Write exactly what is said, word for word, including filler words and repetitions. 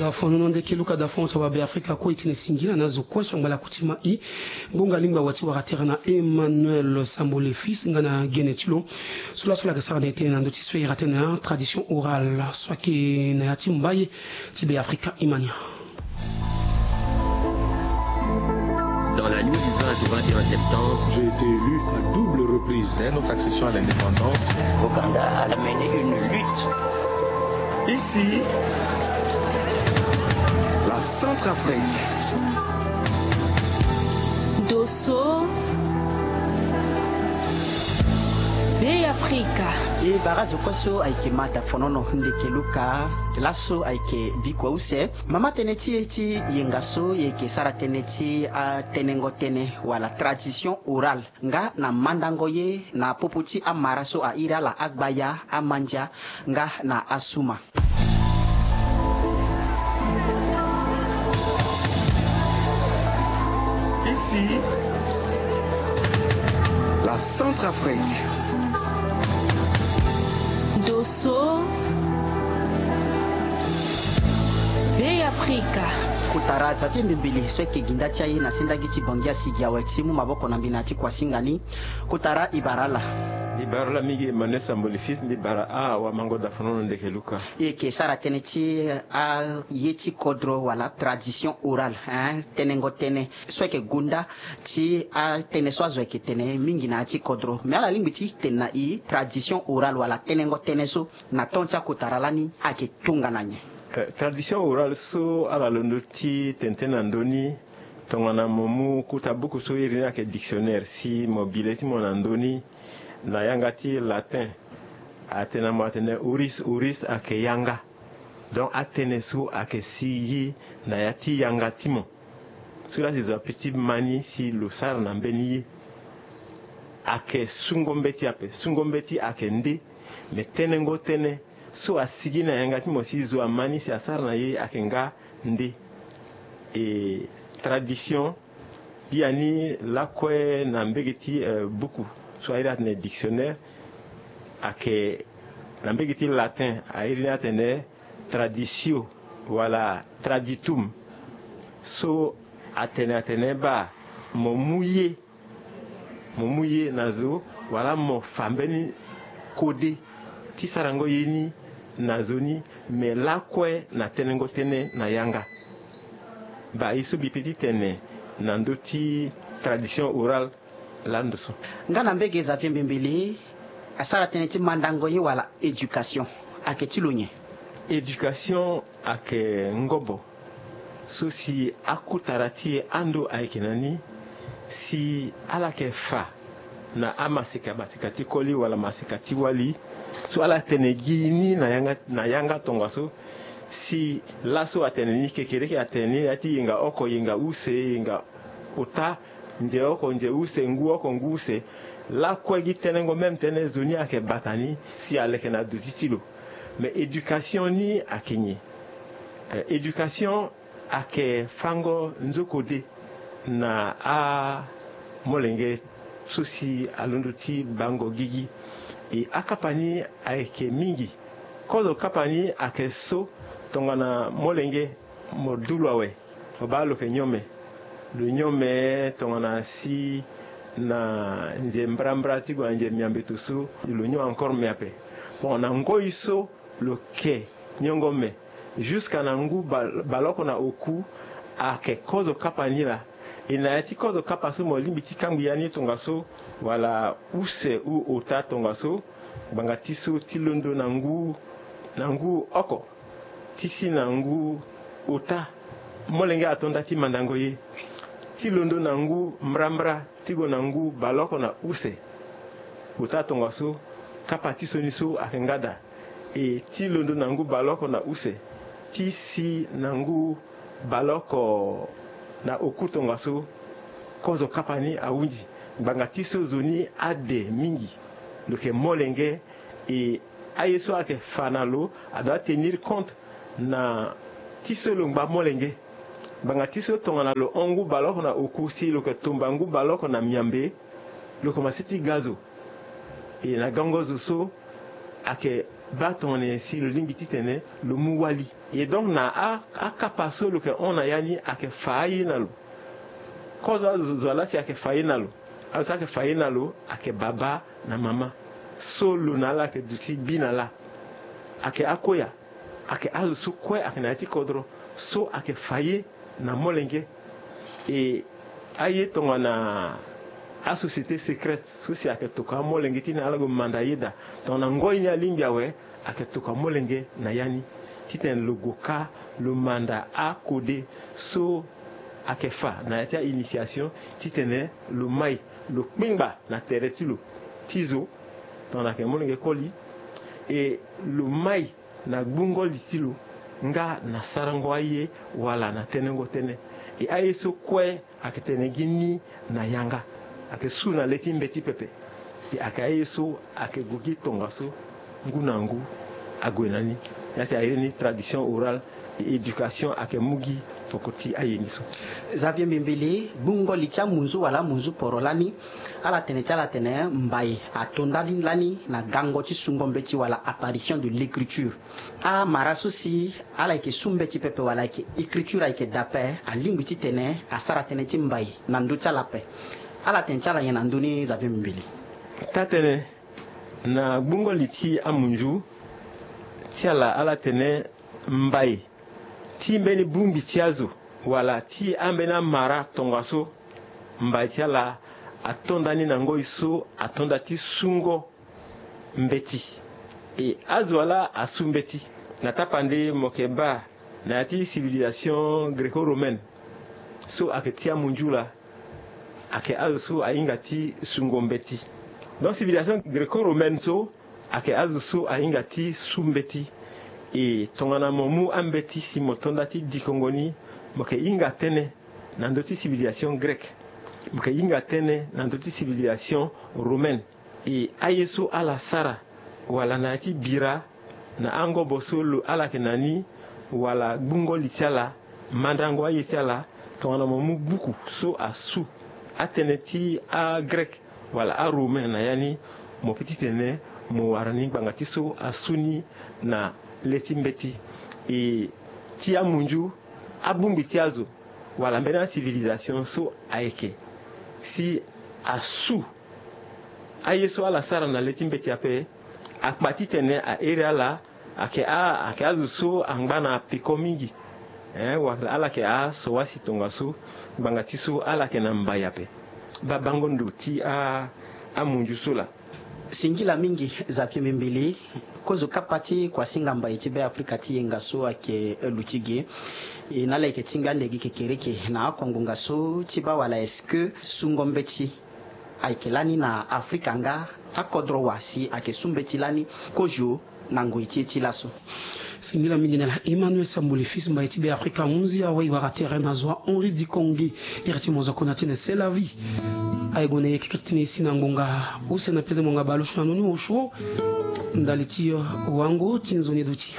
Dafonono ndeke luka dafono ti awabe afrika kue e tene singila na azo kue so angba la kutima i. Ngonga lingba wa ti wara tere na emmanuel sambo le fils nga na gene ti lo. So laso lake sara na e tene na ndö ti so e ira tene na tradition orale so ayeke na ya ti mbaye ti be afrika imania. Dans la nuit du vingt au vingt et un septembre, j'ai été élu à double reprise. Dès notre accession à l'indépendance, Ouganda a mené une lutte. Ici, la Centrafrique. Dosso. Be afrika. E bara zo kue so ayeke ma dafonono ndeke luka. Laso ayeke bikua use. Mama tënë ti e ti yenga so e yeke sara tënë ti atenengo tënë wala tradition orale nga na mandango ye na popo ti amara so airi ala agbaya, amandia nga na asuma. Ici, la Centrafrique. Dosso. Be afrika. Kotara Xavier Mbembele so ayeke ginda ti aye na sendagi ti Bangi asigi awe ti mu maboko na mbi na ya ti kuasinga ni. Kotara e bara ala. Mbi bara ala mingi Emmanuel Samboli fils, mbi bara awamango dafonono ndeke luka. E yeke sara tënë ti aye ti kodro wala tradition orale, hein, tenengo tënë so ayeke gonda ti atënë so azo ayeke tene mingi na ya ti kodro. Me ala lingbi ti tene na e tradition orale wala tenengo tënë so na temps ti akotara lani ayeke tongana nyen? Eh, tradition orale so ala londo ti tene tënë na ndö ni, tongana mo mu kota buku so iri ni ayeke dictionnaire, si mo bi le ti mo na ndö ni, na yanga ti latin atene na mo atene oris, oris ayeke yanga. Donc atënë so ayeke sigi na ya ti yanga ti mo. So la si zo ape ti ma ni si lo sara na mbeni ye. Ayeke sungo mbeti ape, sungo mbeti ayeke nde. Me tenengo tënë so asigi na yanga ti mo si zo ama ni si asara na ye ayeke nga nde. E tradition, biani lakue na mbege ti, eh, buku so airi atene dictionnaire, ayeke na mbege ti latin airi ni atene traditio wala traditum. So atene atene baa mo mu ye, mo mu ye na zo, wala mo fa mbeni kode ti sarango ye ni na zo ni. Me lakue na tenengo tënë na yanga. Baa ye so mbi pe ti tene na ndö ti tradition orale lando so. Nga na mbege Xavier Mbembele, asara tënë ti mandango ye wala éducation ayeke ti lo nyen? Éducation ayeke ngobo so si akutara ti e ando ayeke na ni, si ala yeke fa na amaseka, maseka ti koli wala maseka ti wali, so ala tene gi ni na yanga, na yanga tongaso, si laso atene ni, kekereke atene ni na ya ti yenga oko, yenga use, yenga ota, nze oko, nze use, ngu oko, ngu use. Lakue gi tenengo même tënë zo ni ayeke bata ni si aleke na duti ti lo. Mais éducation ni ayeke nyen? Eh, éducation ayeke fango nzokode na amolenge so si alondo ti bango gigi. E akapa ni ayeke mingi. Kozo kapa ni ayeke so tongana molenge mo du lo awe, mo baa lo yeke nyome. Lo nyome tongana si na nze mbrambra ti gue na nze miambeto so, lo nyome encore me ape. Bon, na ngoi so lo yeke nyongo me, jusqu'à na ngu bal-, baleoko na oku, ayeke kozo kapa ni laa. E na ya ti kozo kapa so mo lingbi ti kangbi ya ni tongaso, wala use ou ota tongaso, ngbanga ti so ti londo na ngu, na ngu oko ti si na ngu ota, molenge ato nda ti mandango ye. Ti londo na ngu mbrambra ti gue na ngu baleoko na use, ota tongaso, kapa ti sioni so ayeke nga daa. E ti londo na ngu baleoko na use ti si na ngu baleoko na oku tongaso, kozo kapa ni ahunzi. Ngbanga ti so zo ni ade mingi, lo yeke molenge. E aye so ayeke fa na lo, adoit tenir compte na ti so lo ngba molenge. Ngbanga ti so tongana lo hon ngu baleoko na oku si lo yeke tomba ngu baleoko na miambe, lo komanse ti ga zo. E na gango zo so ayeke baa tongana nyen si lo lingbi titene lo mu wali. E donc na a, akapa so lo yeke hon na ya ni ayeke fa aye na lo. Kozo azo zo ala si ayeke fa ye na lo. Azo so ayeke fa ye na lo ayeke baba na mama. So lo na ala ayeke duti bi na ala. Ayeke akoya. Ayeke azo so kue ayeke na ya ti kodro so ayeke fa ye na molenge. E aye tongana asociété secrète so si ayeke tokua amolenge ti na ala gue manda yeda tongana ngoi ni alingbi awe. Ayeke tokua molenge na ya ni titene lo gue ka lo manda akode so ayeke fa na ya ti a-initiation titene lo mai lo kpengba na tere ti lo ti zo tongana ayeke molenge koli. E lo mai na gbungo li ti lo nga na sarango aye wala na tenengo tënë. E aye so kue ayeke tene gi ni na yanga. Ayeke su na le ti mbeti pepe. E ayeke aye so ayeke gue gi tongaso ngu na ngu ague na ni. Ya si airi ni tradition orale. E éducation ayeke mu gi toko ti aye ni so. Xavier Mbimbili, gbungo li ti amunzu wala amunzu poro lani, ala tene ti ala atene mbai ato ndali lani na gango ti sungo mbeti wala apparition de l'écriture. Amara so si ala yeke su mbeti pepe wala ayeke écriture ayeke daa ape, alingbi titene asara tënë ti mbai na ndö ti ala ape. Ala tene ti ala nyen na ndö ni, Xavier Mbimbili? Taa-tënë, na gbungo li ti amunzu ti ala, ala tene mbai ti mbeni bongbi ti azo wala ti ambeni amara tongaso, mbai ti ala ato ndani na ngoi so ato nda ti sungo mbeti. E azo ala asu mbeti. Na tapande mo yeke baa na ya ti civilisation gréco-romaine so ayeke ti amunzu laa, ayeke azo so ahinga ti sungo mbeti. Donc civilisation gréco-romaine so ayeke azo so ahinga ti su mbeti. E tongana mo mu ambeti si mo to nda ti dikongo ni, mo yeke hinga tënë na ndö ti civilisation grecque. Mo yeke hinga tënë na ndö ti civilisation romaine. E aye so ala sara wala na ya ti bira na angobo so lo ala yeke na ni, wala gbungo li ti ala, mandango aye ti ala. Tongana mo mu buku so asu atënë ti agrec wala aromain na ya ni, mo peut titene mo wara ni ngbanga ti so asu ni na le ti mbeti. E ti amunzu, abongbi ti azo wala mbeni acivilisation so ayeke si asu aye so ala sara na le ti mbeti ape, akpa titene a iri ala ayeke a, ayeke azo so angba na peko mingi. Eh, wala ala yeke aso wasi tongaso, ngbanga ti so ala yeke na mbai ape. Baa bango ndo ti a, amunzu so laa. Singila mingi, Xavier Mbimbili. Kozo kapa ti kuasinga mbai ti Be Afrika ti yenga so ayeke luti ge. E na ala yeke ti ngbia ande gi kekereke na akongo nga so ti baa wala est-ce que sungo mbeti ayeke lani na Afrika nga akodro wa si ayeke su mbeti lani kozo na ngoi ti e ti laso? Singila mingi na ala. Emmanuel Sambuli, fils mbai ti Be Afrika, hunzi awe e wara tere na zo wa Henri Dikongi. Iri ti mo zo akona tene c'est la vie. Aye gue na e keke ti tene e si na ngonga use na peze ngonga baleosio na noni osio ndali ti wango ti nzoni duti.